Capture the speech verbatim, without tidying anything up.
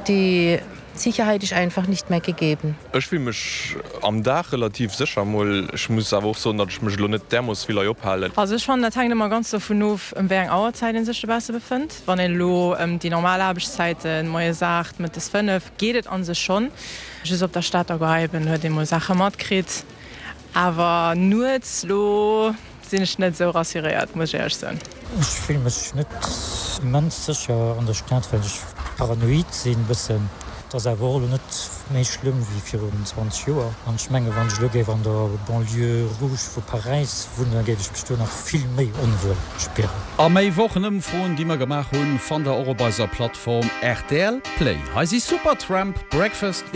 Die Sicherheit ist einfach nicht mehr gegeben. Ech fille mech am Dag relativ sécher mol. Ech muss awer och soen, datt ech mech lo net därmoosse vill hei ophalen. Also ech fannen, dat hänkt ëmmer ganz dovun of, ëm wéi eng Auerzäit een sech dobausse befënnt. Wann een elo ëm déi normal Aarbechtszäiten, moies aacht, mëttes fënnef, geet et an sech schonn. Just op der Stater Gare eben huet ee mol Saache matkritt. Awer nuets lo sinn ech net esou rassuréiert, muss ech éierlech soen. Ech fille mech net immens sécher an der Stad, well ech paranoid sinn bëssen. Et ass awer och elo net méi schlëmm wéi virun zwanzeg Joer. An ech menge wann ech elo géif an der Banlieue rouge vu Paräis wunnen, da géif ech mech do nach vill méi onwuel spieren. A méi Wochenëmfroen, déi mer gemaach hunn, fannt der och op eiser Plattform R T L Play. Hei si Supertramp, Breakfast.